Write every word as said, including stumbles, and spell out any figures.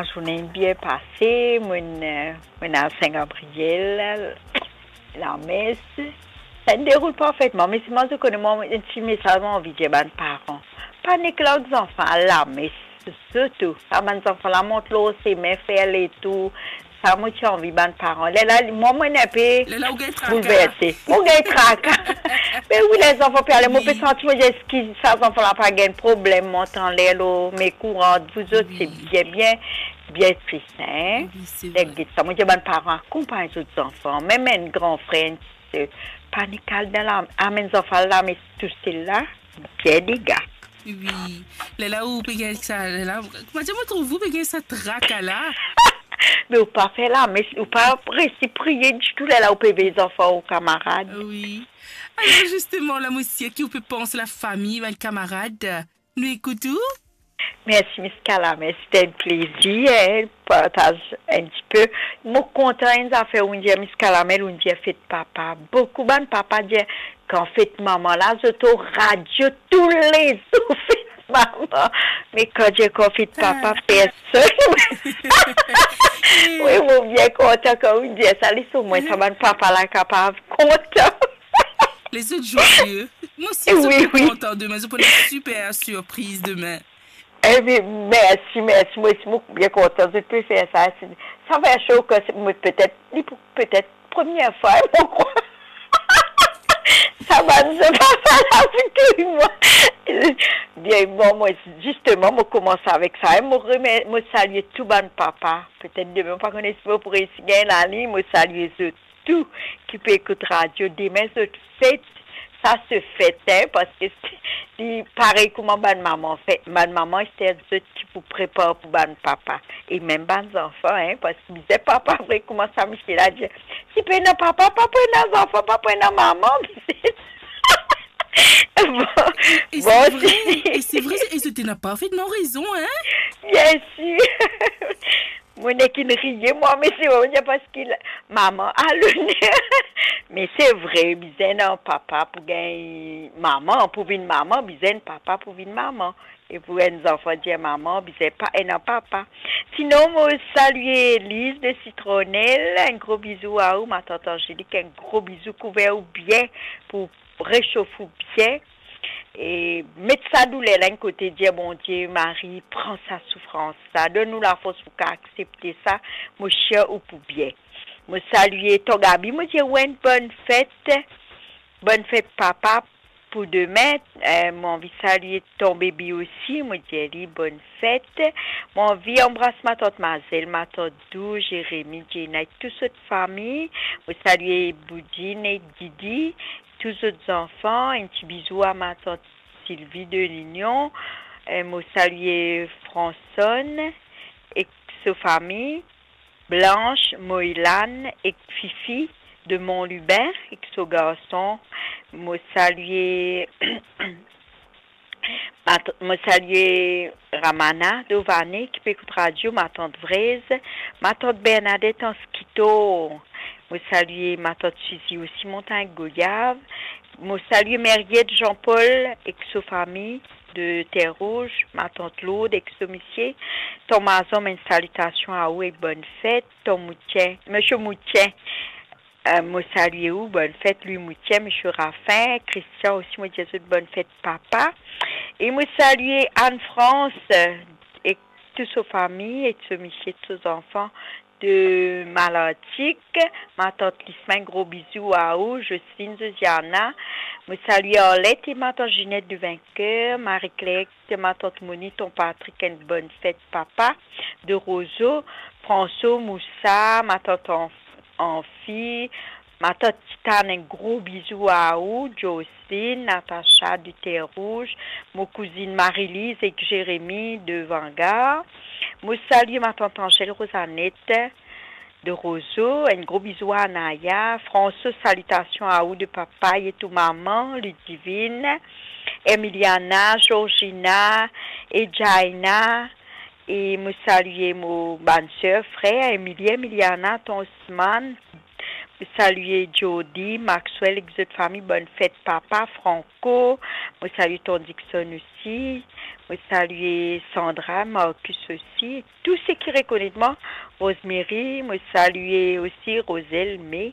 Lazourne inn bien pase, mo'nn, eh, mo'nn al Sin Gabriel, lames. Sa inn deroul parfetman, me selman zot kone mwa, enn ti mesaz mo anvi dir bann paran. Pa nek larg zanfan al lames, sirtou. Sa bann zanfan la mont lor sime, fer letour. Sa mo ti anvi bann paran. Lerla, mwa, mo'nn enpe Lerla ou gagn traka. Boulverse. Mo gagn traka. Me wi, ler zanfan pe ale, mo pe santi, mo dir, eski sa zanfan la pa gagn problem, mont anler lor me kouran, zot, se bien, bien, bien tris, hein. Wi, se vre. Get sa, mo dir bann paran, akonpagn zot zanfan, mem enn gran frer, enn ti ser, pa nek al dan la, amenn zanfan al lames tousel la, bien dega. Wi. Lerla ou pe gagn sa, lerla, koumadir mo trouv ou pe gagn sa traka la? Me ou pa fer lames, ou pa resi priye ditou, lerla ou pe vey zanfan ou kamarad. Wi. Alor, zisteman, la, mo sir ki ou pe pans lafami, bann kamarad. Nou ekout ou. Mersi, Miss Kalames, se enn plezir, eh, partaz enn tipe. Mo kontan enn zafer ou'nn dir, Miss Kalames, ou'nn dir fet papa. Boukou bann papa dir, kan fet manman la, zot o radio toulezour fet manman. Me kan dir kan fet papa, personn. Wi, mo bien kontan kan ou'nn dir sa, les omwin sa bann papa la kapav kontan. Lezot zwaye. Mo sir zot pou kontan dime, zot pou ena siper sirpriz dime. Wi, wi. Eh bien, mersi, mersi. Mo osi, mo bien kontan zot pe fer sa. Sa va sho kan se, mo petet, li pou, petet premie fwa, mo krwar. Sa bann, sa pa, pa la pou touy mwa. Bien, bon, mo, zisteman, mo koumans avek sa. Mo remer-, mo salie tou bann papa. Petet dime, mo pa kone si mo pou resi gagn laliny, mo salie zot tou ki pe ekout radio, dime zot fet, sa se fet, hein, parski li parey kouma bann manman fer, bann manman, se zot ki pou prepar pou bann papa, e mem bann zanfan, hein, parski bizin papa vre, kouma sa misie la dir, si pena papa, pa pou ena zanfan, pa pou ena manman. Bon, e, e bon, se vre, e se vre, e zot ena parfetman rezon, hein? Bien sir. Mo nek inn riye, mwa, me se vremem parski la, manman a loner. Me se vre, bizin ena papa pou gagn manman, pou vinn manman, bizin papa pou vinn manman. E pou enn zanfan dir manman, bizin pa ena papa. Sinon, mo salie Liz de Sitronel, enn gro bizou a ou, matant Angelik, enn gro bizou, kouver ou bien pou resof ou bien. E met sa douler la enn kote, dir Bondie, Marie, pran sa soufrans la, donn nou lafors pou ka aksepte sa, mo sir ou pou bien. Mo salie tonton Gaby, mo dir ou enn bonn fet, bonn fet papa pou dime. Eh, mo anvi salie tonton Baby osi, mo dir li bonn fet. Mo anvi anbras matant Mazel, matant Dou, Jeremi, Djena, tou zot fami. Mo salie Boudine e Didi, tou zot zanfan, enn ti bizou a matant Sylvie de Lignon. Eh, mo salie Fransonn ek so fami, Blanche, Moïlan ek Fifi de Mont Lubin ek so garson. Mo salie Mat-, mo salie Ramana Dovane ki pe ekout radio, matant Vrez, matant Bernadette Anskito. Mo salie matant Suzy osi, Montagn Goyav. Mo salie Meriette Jean-Paul ek so fami de Terre Rouge, matant Lourdes ek so misie. Ton Mazon, enn salitasion a ou ek bonn fet. Ton Moutien, misie Moutien, Eh, mo salie ou, bonn fet, Louis Moutien, misie Rafin, Christian osi, mo dir zot bonn fet papa. E mo salie Anne France, eh, ek tou so fami, ek so misie, tou so zanfan de Malartik, matant Lisma, enn gro bizou a ou, Jocelyne, Josiana. Mo salie Arlette e matant Ginette de Vainqueur, Marie-Claire, matant Moni, ton Patrick, enn bonn fet papa de Rozo, François, Moussa, matant Anf-, Anfi, matant Titane, enn gro bizou a ou, Jocelyne, Natacha de Terre Rouge, mo kouzinn Marie-Lise ek Jérémy de Vanguard. Mo salie matant Angèle Rosanette de Rozo, enn gro bizou a Anaya. François, salitasion a ou de papa e tou mama, Ludivine, Emiliana, Georgina e Jaina. E mo salie mo bann ser, frer, Emilie, Emiliana, ton Osman, Mo salie Jody, Maxwell ek zot fami, bonn fet papa, Franco. Mo salie Ton Dixon osi. Mo salie Sandra, Marcus osi. Tou seki rekonet mwa, Rosemary, mo salie osi Roselle, me